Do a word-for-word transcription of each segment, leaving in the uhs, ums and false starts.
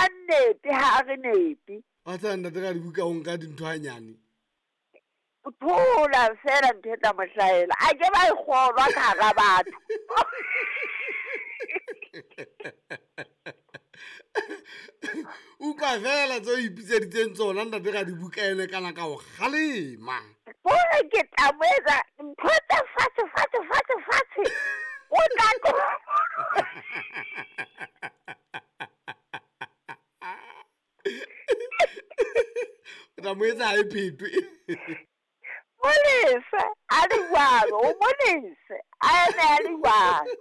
a nnepe ha re nepe. Wa tseba ntate ka dibuka o nka dintho hanyane. O thola fela ntho e tla mo hlahela. A ke ba e kgolwa ka hara batho. Utlwa fela tse o ipitseditseng tsona ntate ka dibuka ene kana ka o kgalema. Hore ke tla mo etsa ntho tse fatshe fatshe fatshe fatshe. O tla tlo- O tla mo etsa ha e phetwe. Molese a le jwalo, o molese a eme a le jwalo.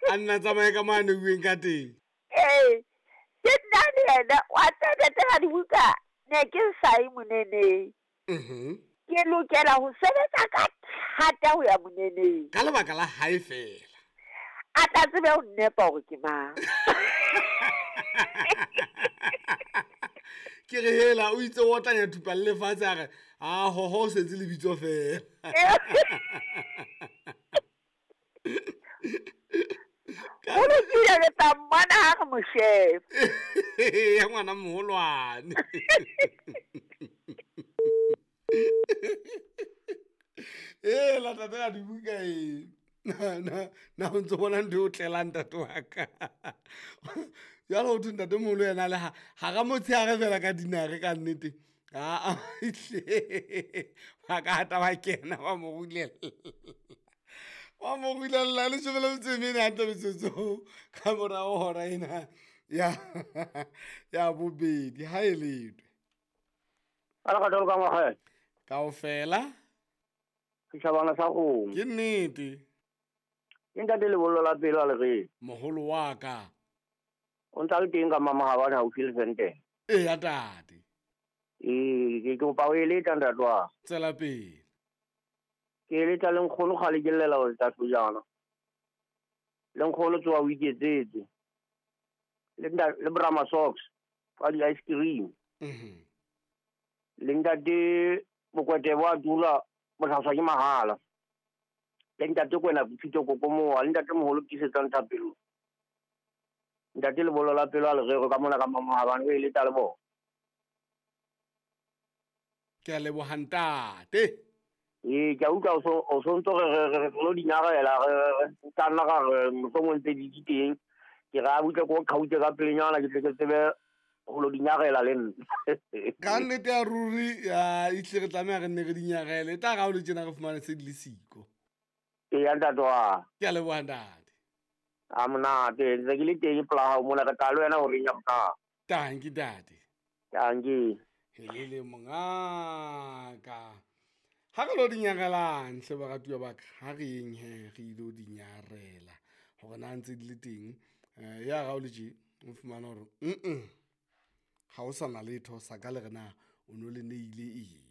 A nna tsamaye ka mane bueng ka teng. Ee, ke nna le yena wa tseba ntate ka dibuka ne ke sa ye moneneng. Mhm. Ke lokela ho sebetsa ka thata ho ya moneneng. Ka lebaka la hae fela. A tla tsebe ho nnepa hore ke mang. Ke re hela o itse o otlanya thupa le lefatshe a re a hoho o setse lebitso fela. Ho lokile re tla mmona ha re mo sheba. Ya ngwana moholwane. Hela tate ka dibuka e. Na na na o ntso bona ntho e o tlelang ntate wa ka. Jwale ho thwe ntate moholo yena le ha hara motshehare fela ka dinare ka nnete. Aa ehlile ba ka hata ba kena ba mo rulella. Ba mo rulella leshome le metso e mene hantle metsotso ka morao hora ena ya ya bobedi ha e letwe. Ka lerato le ka ngwaga. Kaofela. Setjhabana sa kgomo. Ke nnete. Ke ntate lebollo la pelo a le re. Moholo wa ka. O ntsa le teng ka mamahabane haufi le Sente. Eya tate. Ee, ke kopa o eletsa ntate wa. Tswela pele. Ke eletsa le nkgono kgale ke llela hore tla hlojana. Le nkgono tsoha o iketsetse. Le nta-, le Brahma socks wa di-ice cream. Mhm. Le ntate Mokwete wa dula bohlaswa ke mahala. Le ntate Kwena Phito Kokomoa, le ntate moholo Tiisetsang Thapelo. Ntate lebollo la pelo a le rero ka mona ka mamahabane o eletsa le bona. Ke a leboha ntate. Ee, ke a utlwa o so, o so ntso re, re, re, re tlo di nyarela, re, re, re, ka nna ra re, mohlomong ntse di di teng. Ke re a butle ko qhautse ka pelenyana, ke tle ke tsebe ho lo di nyarela le nna. Ka nnete ya ruri, ya, ehlile re tlameha re nne re di nyarele. E tla re ha o le tjena re fumane se di le siko. Eya, ntate wa. Ke a leboha ntate. A monate, ntse ke le teng pela hao mona, re tla le wena horeng ya bohlano. Tanki ntate. Tanki. Helele mongaka. Ha re lo di nyarelang hle baratuwa ba ka, ha re yeng he re ilo di nyarela hore na ntse di le teng. Eh, ya ga o le tje, o fumana hore, mm-mm, ha o sa na letho sa ka le re na o no le neile eng.